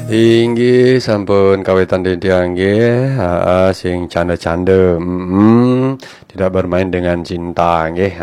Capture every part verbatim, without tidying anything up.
Inggih, sampun kawitan titiang nggih. Aa, sing canda-canda. Mm-mm. Tidak bermain dengan cinta nggih.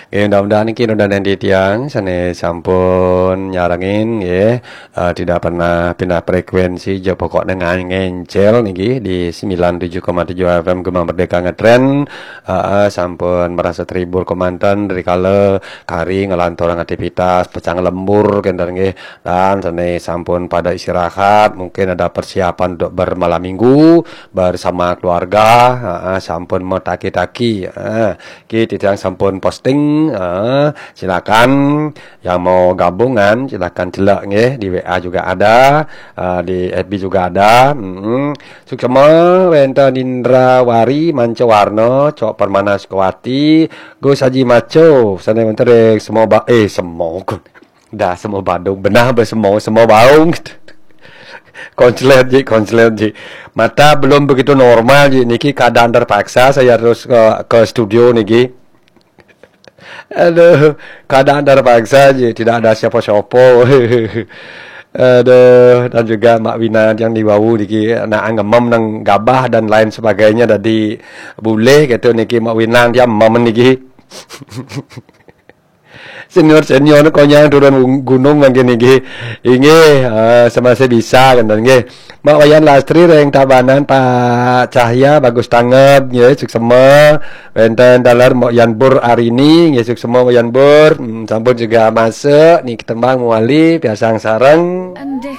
Nggih, mudah-mudahan niki nunan titiang sane sampun nyarengin nggih. Aa, tidak pernah pindah frekuensi, ja pokokne ngan-, ngencel niki di sembilan tujuh koma tujuh F M Gema Merdeka Ngetren. Aa, sampun merasa terhibur kemanten rikala kari ngelanturang aktivitas pecah lembur kenten nggih. Dan sane sampun pada istirahat, mungkin ada persiapan untuk bermalam minggu bersama keluarga. Aa, sampun metaki-taki. Aa, ki titiang sampun posting. Aa, silakan yang mau gabungan, silakan celek nggih, di W A juga ada, aa, di F B juga ada. Mm-mm. Suksma wenten Indrawari Mancawarna, Cok Permana Sukawati, Gus Haji Maco, sane wenten ring Semo Ba-, eh, Semo. Dah Semo Badung, benah be Semo, Semo Baung. Konslet ji, konslet ji. Mata belum begitu normal ji. Niki keadaan terpaksa saya harus ke, ke studio niki. Aduh, keadaan terpaksa ji, tidak ada siapa-siapa. Aduh, dan juga Mak Wina yang di wau niki nak ngemem nang gabah dan lain sebagainya, dadi bulih gitu niki Mak Wina yang mem niki. Senior-senior konyang turun gung-, gunung mangkin niki. Inggih, eh, semasa bisa kenten nggih. Mak Wayan Lastri ring Tabanan, Pak Cahya bagus tanget nggih, suksema. Wenten taler Mak Yan Bur Arini nggih, suksema Mak Yan Bur. Hmm, sampun juga masuk niki tembang mawali piasang sareng. Endih